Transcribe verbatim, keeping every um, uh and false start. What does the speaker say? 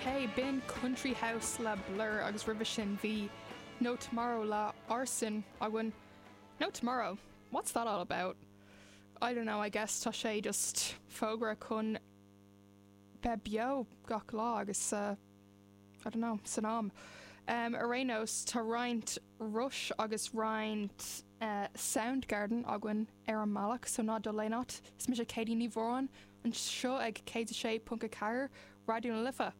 Ok, b'in Country House le Blur agus roimhe sin bhí No Tomorrow le Arson againn. No Tomorrow. What's that all about? I don't know, I guess tá sé just fógra chun bheith beo gach lá agus uh, I don't know, san am. Um, ar aon nós tá roinnt Rush agus roinnt uh, Soundgarden againn ar an mbealach so ná dul aon áit is mise Katie Ní Mhóráin anseo ag céad sé ponc a ceathair Raidió na Life.